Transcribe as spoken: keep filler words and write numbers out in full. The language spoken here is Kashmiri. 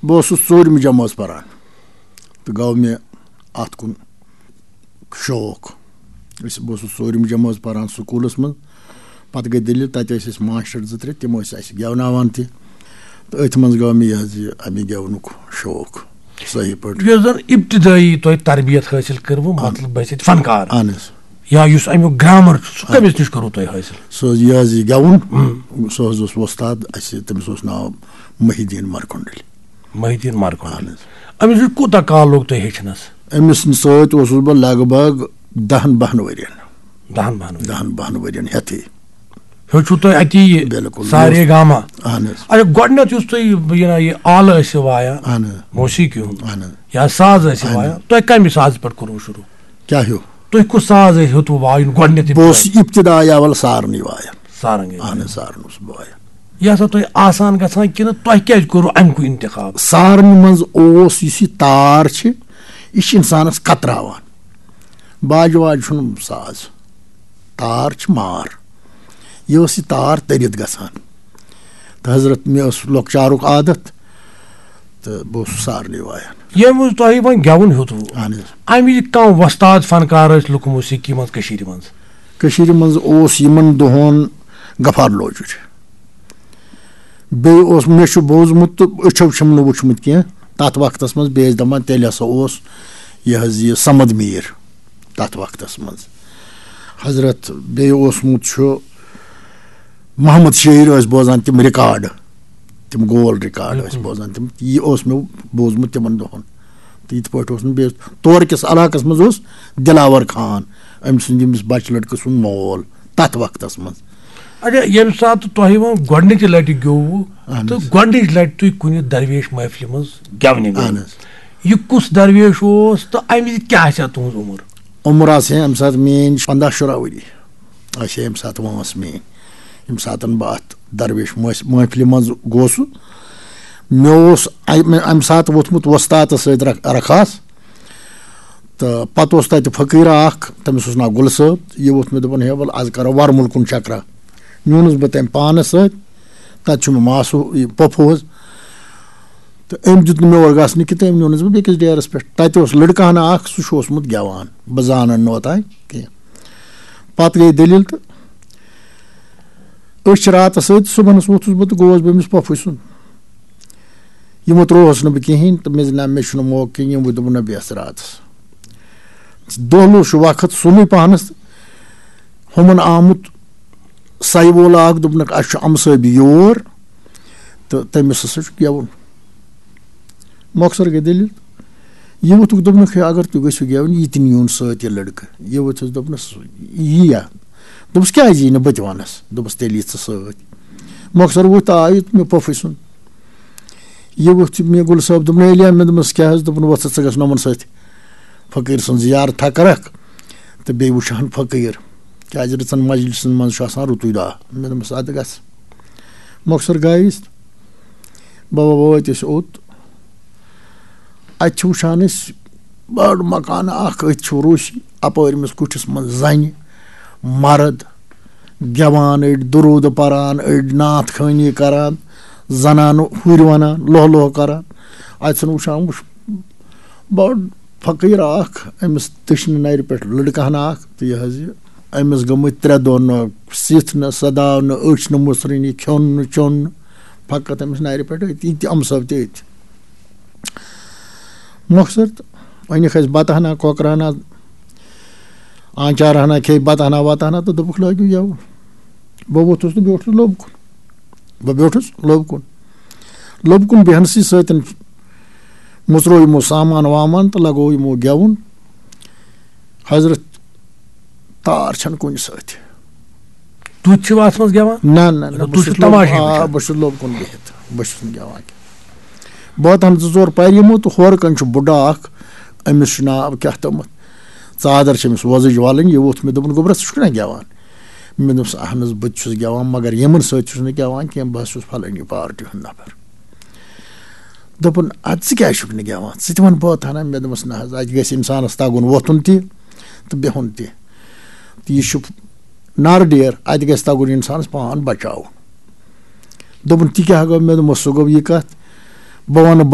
بہٕ اوسُس ژوٗرمہِ جمٲژ پران تہٕ گوٚو مےٚ اَتھ کُن شوق۔ أسۍ، بہٕ اوسُس ژوٗرمہِ جمٲژ پران سکوٗلَس منٛز۔ پَتہٕ گٔے دٔلیٖل، تَتہِ ٲسۍ اَسہِ ماسٹر زٕ ترٛےٚ، تِم ٲسۍ اَسہِ گٮ۪وناوان تہِ۔ تہٕ أتھۍ منٛز گوٚو مےٚ یہِ حظ یہِ اَمہِ گٮ۪ونُک شوق صحیح پٲٹھۍ۔ یۄس زَن ابتدٲیی تۄہہِ تربیت حٲصِل کٔروٕ، آ۔ مطلب بٲسِتھ فنکار۔ اَہَن حظ۔ یا یُس اَمیُک گرامر چھُ، سُہ آ۔ کٔمِس نِش کوٚروٕ تۄہہِ حٲصِل؟ سُہ حظ، یہِ حظ یہِ گٮ۪وُن، ہُم۔ سُہ حظ اوس وۄستاد اَسہِ، تٔمِس اوس ناو محی الدین مرکنڈلی۔ محی الدین مرکنڈلی۔ اَہَن حظ۔ أمِس نِش کوٗتاہ کال لوٚگ تۄہہِ ہیٚچھنَس؟ أمِس سۭتۍ اوسُس بہٕ لگ بگ دَہَن بَہَن ؤرِین۔ دَہَن بَہَن ؤرِین۔ دَہَن بَہَن ؤرِین ہٮ۪تھٕے۔ ہیوٚچھوٕ تۄہہِ اَتی یہِ بِلکُل۔ سارے گاما؟ اَہَن حظ۔ اچھا، گۄڈٕنٮ۪تھ یُس تُہۍ یہِ، یہِ نا، یہِ آلہٕ ٲسِو وایان، اَہَن حظ۔ موسیٖقی ہُنٛد، اَہَن حظ۔ یا ساز ٲسِو اَہَن وایان، حظ۔ تۄہہِ کَمہِ سازٕ پٮ۪ٹھ کوٚروٕ شروٗع؟ کیٛاہ ہیوٚو؟ تُہۍ کُس ساز ٲسۍ ہیوٚتوٕ وایُن گۄڈٕنٮ۪تھ بہٕ اوسُس ابتدا؟ ابتدا اول سارنٕے وایان۔ سارنٛگ۔ اَہَن حظ، سارن اوسُس بہٕ وایان۔ یہِ ہسا تۄہہِ آسان گژھان کِنہٕ تۄہہِ کیٛازِ کوٚروٕ اَمہِ کُے اِنتِخاب؟ سارنہِ منٛز اوس یُس یہِ تار چھِ، یہِ چھِ اِنسانَس کتراوان۔ باجہِ واجہِ چھُنہٕ ساز، تار چھِ مار۔ یہِ ٲس یہِ تار تٔرِتھ گژھان۔ تہٕ حضرت، مےٚ اوس لۄکچارُک عادت، تہٕ بہٕ اوسُس سارنٕے وایان۔ ییٚمہِ وِزِ تۄہہِ وۄنۍ گٮ۪وُن ہیوٚتوٕ، اَہَن حظ۔ اَمہِ وِزِ کانٛہہ وۄستاد فنکار ٲسۍ لُکہٕ موسیقی منٛز کٔشیٖرِ منٛز؟ کٔشیٖرِ منٛز اوس یِمن دۄہن غفار لوجُر۔ بیٚیہِ اوس، مےٚ چھُ بوٗزمُت تہٕ أچھو چھُم نہٕ وُچھمُت کینٛہہ۔ تَتھ وقتَس منٛز بیٚیہِ ٲسۍ دَپان، تیٚلہِ ہسا اوس یہِ حظ یہِ صمد میٖر تَتھ وقتَس منٛز۔ حضرت، بیٚیہِ اوسمُت چھُ محمد شٲعر، ٲسۍ بوزان تِم ریکارڈ، تِم گول ریکارڈ ٲسۍ بِلکُل۔ بوزان تِم۔ یہِ اوس مےٚ بوٗزمُت تِمَن دۄہَن۔ تہٕ یِتھ پٲٹھۍ اوس نہٕ بیٚیہِ، تورٕ کِس علاقَس منٛز اوس دِلاوَر خان، أمۍ سُنٛد، ییٚمِس بَچہٕ لٔڑکہٕ سُنٛد مول تَتھ وقتَس منٛز۔ اچھا، ییٚمہِ ساتہٕ تۄہہِ وۄنۍ گۄڈٕنِچہِ لَٹہِ گیوٚوُ اَہَن تہٕ حظ۔ گۄڈٕنِچہِ لَٹہِ تُہۍ کُنہِ درویش محفلہِ منٛز گٮ۪ونہِ گٔیوٕ، اَہَن حظ۔ یہِ کُس درویش اوس تہٕ اَمہِ وِزِ کیٛاہ آسہِ ہا تُہٕنٛز عُمر؟ عُمر آسہِ ہے اَمہِ ساتہٕ میٛٲنۍ پنٛداہ شُراہ ؤری، آسہِ ہے اَمہِ ساتہٕ وٲنٛس میٛٲنۍ، ییٚمہِ ساتہٕ بہٕ اَتھ درویش مٲس-، محفلہِ منٛز گوسُس۔ مےٚ اوس اَمہِ، اَمہِ ساتہٕ ووٚتھمُت وۄستادَس سۭتۍ رَکھ-، رَکھاس۔ تہٕ پَتہٕ اوس تَتہِ فقیٖرا اَکھ، تٔمِس اوس ناو گُلہٕ صٲب۔ یہِ ووٚتھ مےٚ، دوٚپُن، "ہے، وَلہٕ، آز کَرو وَرمُل کُن چَکرا۔" نیوٗنَس بہٕ تٔمۍ پانَس سۭتۍ۔ تَتہِ چھُ مےٚ ماسہٕ، یہِ پۄپھٕ حظ۔ تہٕ أمۍ دیُت نہٕ مےٚ اورٕ گژھنہٕ کینٛہہ، تہٕ أمۍ نیوٗنَس بہٕ بیٚکِس ڈیرَس پٮ۪ٹھ۔ تَتہِ اوس لٔڑکہٕ ہنا اَکھ، سُہ چھُ اوسمُت گٮ۪وان، بہٕ زانَن نہٕ اوٚتام کینٛہہ۔ پَتہٕ گٔے دٔلیٖل تہٕ أسۍ چھِ راتَس سۭتۍ، صُبحَنَس ووٚتھُس بہٕ تہٕ گوس بہٕ أمِس پۄپھٕے سُنٛد۔ یِمو ترٛووہَس نہٕ بہٕ کِہیٖنۍ تہٕ مےٚ زِ نہ، مےٚ چھُنہٕ موقعہٕ کِہیٖنۍ، یِم وۄنۍ دوٚپُن، "نہ، بیٚہہ ژٕ راتَس۔" دۄہلُک چھُ وقت سُلُے پَہنَس، ہُمَن آمُت سَے وول اَکھ، دوٚپنَکھ، "اَسہِ چھُ اَمہٕ صٲبۍ یور تہٕ تٔمِس ہسا چھُ گٮ۪وُن۔" مۄخصر گٔے دٔلیٖل۔ یہِ ووٚتھُکھ، دوٚپنَکھ، "ہے، اگر تُہۍ گٔژھِو گٮ۪وُن، یہِ تہِ نیوٗن سۭتۍ یہِ لٔڑکہٕ۔" یہِ ووٚتھُس، دوٚپنَس، "یی یا؟" دوٚپُس، "کیٛازِ یی نہٕ؟ بہٕ تہِ وَنَس۔" دوٚپُس، "تیٚلہِ یی ژٕ سۭتۍ۔" مۄخصر ووٚتھ تہٕ آو یہِ مےٚ پۄپھٕے سُنٛد۔ یہِ ووٚتھ مےٚ گُل صٲب، دوٚپُن، "ہے، علی احمد"، دوٚپمَس، "کیٛاہ حظ؟" دوٚپُن، "وۄتھ ژٕ، ژٕ گژھ نہٕ یِمَن سۭتۍ فقیٖر سٕنٛز زیارتھا کَرَکھ تہٕ بیٚیہِ وٕچھہَن فقیٖر، کیٛازِ رٕژَن مجلسَن منٛز چھُ آسان رُتُے دۄہ۔" مےٚ دوٚپمَس، "اَدٕ گژھ۔" مۄخصر گٔے أسۍ، بابا وٲتۍ أسۍ اوٚت۔ اَتہِ چھِ وٕچھان أسۍ بٔڑ مکانہٕ اَکھ، أتھۍ چھُ روٗسی، اَپٲرۍ أمِس کُٹھِس منٛز زَنہِ، مرد، گٮ۪وان، أڑۍ دروٗدٕ پَران، أڑۍ نعت خوٲنی کَران، زَنانہٕ ہُرۍ وَنان، لوہ لوہ کَران۔ اَتہِ چھُنہٕ وٕچھان، وٕچھ، بٔڑ فقیٖر اَکھ، أمِس دٔچھنہِ نَرِ پٮ۪ٹھ لٔڑکہٕ ہنا اَکھ، تہٕ یہِ حظ یہِ، أمِس گٔمٕتۍ ترٛےٚ دۄہ نہٕ سِتھ نہٕ سَداو نہٕ، أچھ نہٕ مُژرٕنۍ، کھیوٚن نہٕ چیوٚن نہٕ، فقط أمِس نَرِ پٮ۪ٹھ أتھۍ، یہِ تہِ اَمہٕ صٲب تہِ أتھۍ۔ مۄخصر تہٕ أنِکھ اَسہِ بَتہٕ ہنا، کۄکرٕ ہنا، آنچار ہنا کھیٚیہِ، بَتہٕ ہنا وَتہٕ ہنا تہٕ دوٚپُکھ، "لٲگِو یَوٕ۔" بہٕ ووٚتھُس تہٕ بیوٗٹھُس لوٚب کُن۔ بہٕ بیوٗٹھُس لوٚب کُن۔ لوٚب کُن بیٚہنَسٕے سۭتۍ مُژروو یِمو سامان وامان تہٕ لَگوو یِمو گٮ۪وُن۔ حضرت، تار چھَنہٕ کُنہِ سۭتۍ۔ تُہۍ چھِو اَتھ منٛز گٮ۪وان؟ نہ، نہ، نہ، مطلب، بہٕ تُہۍ چھُو چھُس لوٚب-، تماشے آ، وٕچھان؟ بہٕ چھُس لوٚب کُن بِہِتھ، بہٕ چھُس نہٕ گٮ۪وان کینٛہہ۔ بہٕ واتان زٕ ژور پَرِ یِمو تہٕ ہورٕ کَنۍ چھُ بُڈٕ اَکھ، أمِس چھُ ناو کیٛاہ تامَتھ، ژادر چھِ أمِس وۄزٕج وَلٕنۍ، یہِ ووٚتھ مےٚ، دوٚپُن، "گوٚبرا، ژٕ چھُکھ نا گٮ۪وان؟" مےٚ دوٚپمَس، "اَہن حظ، بہٕ تہِ چھُس گٮ۪وان، مگر یِمَن سۭتۍ چھُس نہٕ گٮ۪وان کینٛہہ، بہٕ حظ چھُس فلٲنی پارٹی ہُنٛد نفر۔" دوٚپُن، "اَدٕ ژٕ کیٛازِ چھُکھ نہٕ گٮ۪وان؟ ژٕ تہِ وَن بٲتھ ہنا۔" مےٚ دوٚپمَس، "نہ حظ، اَتہِ گژھِ اِنسانَس تَگُن وۄتھُن تہِ تہٕ بِہُن تہِ۔ تہٕ یہِ چھُ نارٕ ڈیر، اَتہِ گژھِ تَگُن اِنسانَس پان بَچاوُن۔" دوٚپُن، "تہِ کیٛاہ گوٚو؟" مےٚ دوٚپمَس، "سُہ گوٚو یہِ کَتھ، بہٕ وَنہٕ